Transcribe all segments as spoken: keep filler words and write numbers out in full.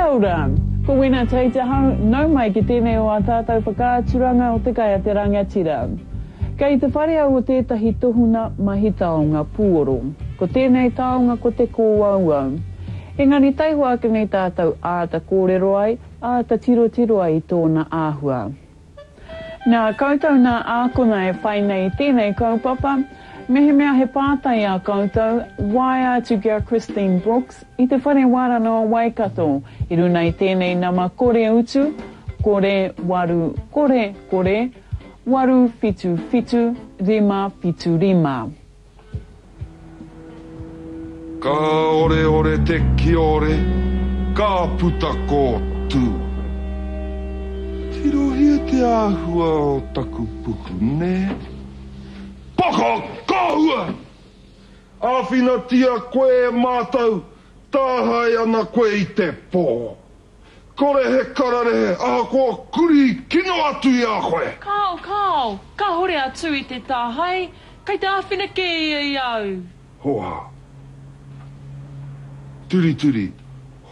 Kia ora! Ko Wena Tate ahau, nau mai ki tēnei o ā tātou whakaaturanga o Te Kai a te Rangatira. Kei te whare au o tētahi tohunga mahi taonga pūoro. Ko tēnei taonga ko te kōauau. Engari taihoa ake nei tātou āta kōrero ai, āta tirotiro ai i tōna āhua. Nā koutou nā ākonga e whai nei i tēnei kaupapa, mehemea he pātai ā koutou, waea atu ki a Christine Brooks i Te Whare Wānanga o Waikato i runa i tēnei nama kore utu, kore, waru, kore, kore, waru, whitu, whitu, rima, whitu, rima. Ka oreore te kiore, ka puta ko Tū. Tirohia te āhua o taku puku, nē? Paka kahua! Āwhinatia koe e mātou, tāhae ana koe i te pō. Kore he kararehe ahakoa kurī kino atu i a koe! Kāo, kāo, kāhore a Tū i te tāhae, kei te āwhina kē ia i a au. Hōhā. Turituri,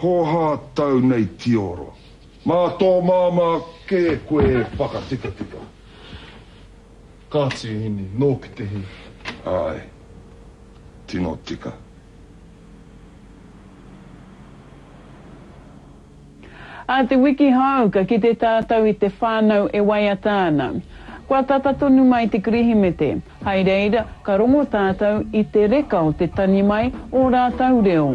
hōhā tau nei tioro. Mā tō māmā kē koe e whakatikatika. Kāti e hine, nōku te hē. Āe, tino tika. Ā te wiki hou ka kite tātou i te whānau e waiata ana. Kua tata tonu mai te Kirihimete, hai reira ka rongo tātou i te reka o te tangi mai o rātou reo.